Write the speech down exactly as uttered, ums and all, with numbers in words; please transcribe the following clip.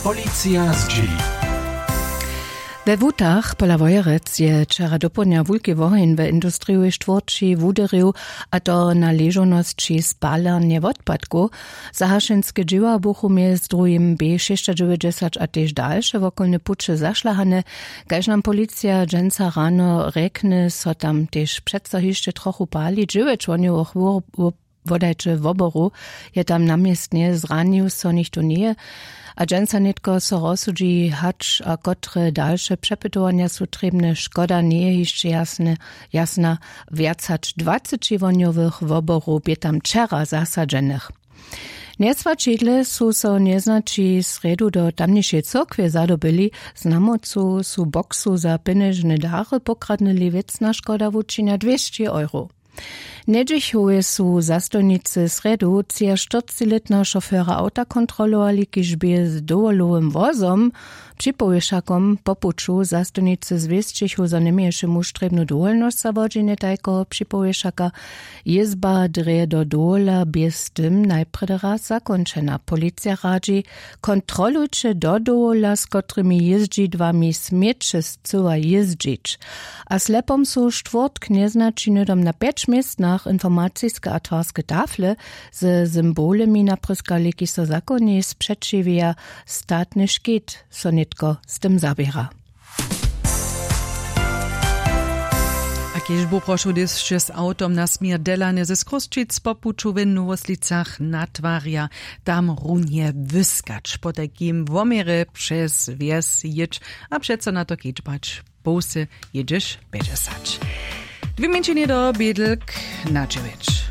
Policija zdźěli. We wutach pola wojerec je wčera dopołdnja wulki woheń we industrijowej štwórći wuderju, a to na ležownosći spalarnje wotpadkow. Zahašenske dźěła buchu mjez druhim b šěsćadźewjećdźesać a tež dalše wokolne puće zašlahane. Kaž nam policija dźensa rano rjekny, so tam tež přeco hišće trochu pali. Dźewjeć wohnjowych wodajće woboru je tam na městnje, zranił so něchtó njeje. A dźensa nětko so rozsudźi hač a kotre dalše přepytowanja su trěbne. Škoda njeje hišće jasne, jasna. Wjac hač dwaceći wohnjowych woborow bě tam wčera zasadźenych. Njeswaćidle su so njeznaći srjedu do tamnišej cyrkwje zadobyli. Znamocu su boksu za pjenježne dary pokradnyli. Wěcna škoda wučinja dwěsći euro. Njedźichowje su zastojnicy srjedu třiaštyrcćilětneho šofera awta kontrolowali, kiž bě z dowolowym wozom připowěšakom po puću. Zastojnicy zwěsćichu, zo njeměješe muž trěbnu dowolnosć za wodźenje tajkeho připowěšaka. Jězba drje do dowola bě z tym najprjedy raz zakónčena. Policija radźi: kontrolujće do dowola, z kotrymi jězdźidłami směće scyła jězdźić. A slepom su štwórtk njeznaći hnydom na pjeć městnach informaciske a twarske tafle ze symbolemi naprěskali, kiž so zakonjej spřećiwja. Statny škit so nětko z tym zaběra. A kiž buprošu dyšće z awtom na směr delany z chrósćic po puću w nowoslicach natwarja, tam runje wyskać, potajkim woměrje přez wjes jěć a přeco na to kedźbać połsy jědźeš pjećdźesać. Dwě mjeńšinje do bědlk na dźewjeć.